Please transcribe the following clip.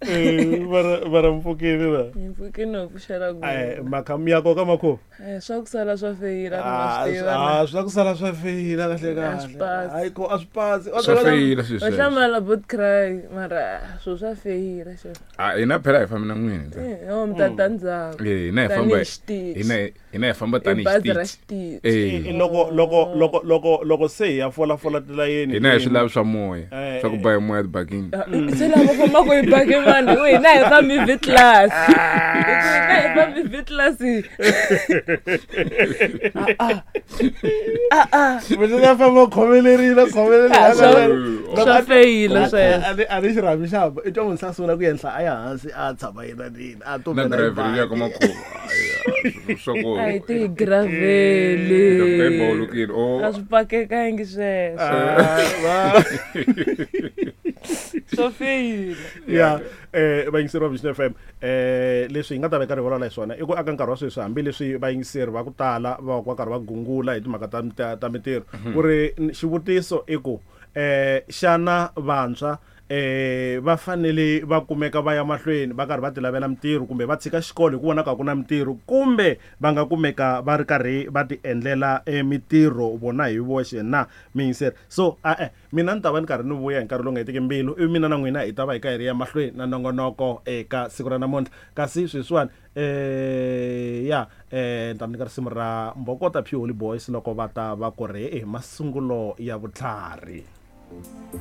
Eh, mara mpfukini la. Hi mpfukini ho pfuxela ku. Eh, makha mi ya koka makho. Eh, swa ku sala swa feyila Ah, ma swi tiva. ah, swa ku sala swa feyila kahle A swi kahle. pasi. Hayi ko a swi pasi. Swa feyila swilo Va sweswo. hlamala bot cry mara swilo swa feyila xo. Ah, hina phela hi fambi na n'wina. Eh, ho mi ta ta ndzhaku. Eh, hina hi famba Tanihi xitichi. hina hi famba I tanihi bazi ra xitichi. xitichi. Eh. Loko se hi ya fola fola tilayeni. Hina hi swi lavi swa moya. Eh, Swa ku ba hi moya tibakini. Ah, Se lava fambaka hi baki vanhu hi hina hi fambi V class. Hina hi fambi V class. Mina na famba khomelerile khomelerile. Ah, swa feyila sweswo. A ni xirhami xa i twa munhu se a sungula ku yenhla a ya hansi a tshama yena nini a Na tumbela driver hi ya ka baki. makhuva. Swa ku. A hi tigravheli. Bawulukile. Oh. A swi pakekangi sweswo. Ah, va- Swa feyila. Ya, vayingiseri va Vision FM, leswi hi nga ta va hi karhi hi vulavula hi swona i ku aka nkarhi wa sweswi, hambileswi vayingiseri va ku tala va va karhi va gungula hi timhaka ta mintirho, ku ri xivutiso i ku xana vantshwa va fanele va kumeka va ya mahlweni va karhi va ti lavela mintirho, kumbe va tshika xikolo hi ku vona ka ku na mintirho, kumbe va nga kumeka va ri karhi va ti endlela mintirho vona hi voxe na miyingiseri? So a-e, mina ni ta va ni karhi ni vuya hi nkarhi lowu nga hetiki mbilu, ivi mina na n'wina hi ta va hi ka hi ri ya mahlweni na nongonoko eka siku ra namuntlha. Kasi sweswiwani ya ni ta mi nyika risimu ra Mbokota Pure Holy Boys loko va ta va ku ri masungulo ya vutlhari.